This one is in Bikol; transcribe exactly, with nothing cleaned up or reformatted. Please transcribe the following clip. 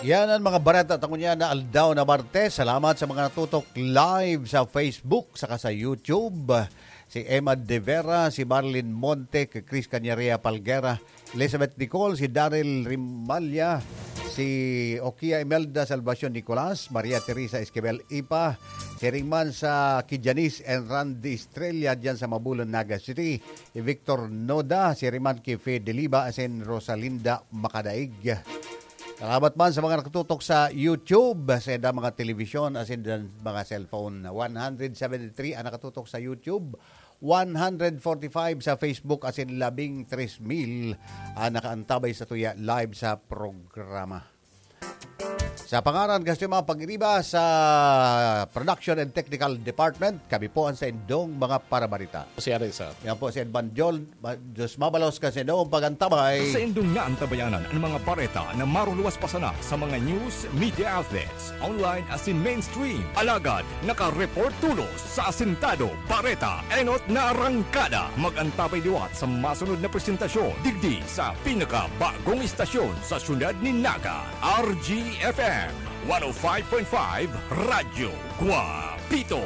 Yan ang mga bareta ta ngunyan na aldaw na Martes. Salamat sa mga natutok live sa Facebook saka sa YouTube. Si Emma De Vera, si Marlene Monte, si Chris Cañaria Palguera, Elizabeth Nicole, si Daryl Rimalla, si Okia Imelda Salvacion Nicolas, Maria Teresa Esquivel Ipa, si Ringman sa Kijanis and Randy Estrella dyan sa Mabulan, Naga City, si Victor Noda, si Riman Kife Deliba, asin Rosalinda Makadaig. Salamat man sa mga nakatutok sa YouTube, sa mga telebisyon, asin dan mga cellphone. One hundred seventy-three ang nakatutok sa YouTube, one hundred forty-five sa Facebook, asin labing tres mil ang nakaantabay sa tuya live sa programa. Sa pangaran kan mga pag-iriba sa Production and Technical Department, kami po ang sa indong mga parabarita. Si Arisa. Yan po si Edman Jol. Ma-, Diyos mabalos kan sa indong pagantabay. Sa indong naantabayanan ang mga bareta na maruluwas pa sana sa mga news media outlets, online asin mainstream. Alagad, nakareport tulos sa Asintado Bareta, enot na arangkada. Mag-antabay liwat sa masunod na presentasyon digdi sa pinakabagong istasyon sa syudad ni Naga, R G F M one oh five point five Radyo Guapito.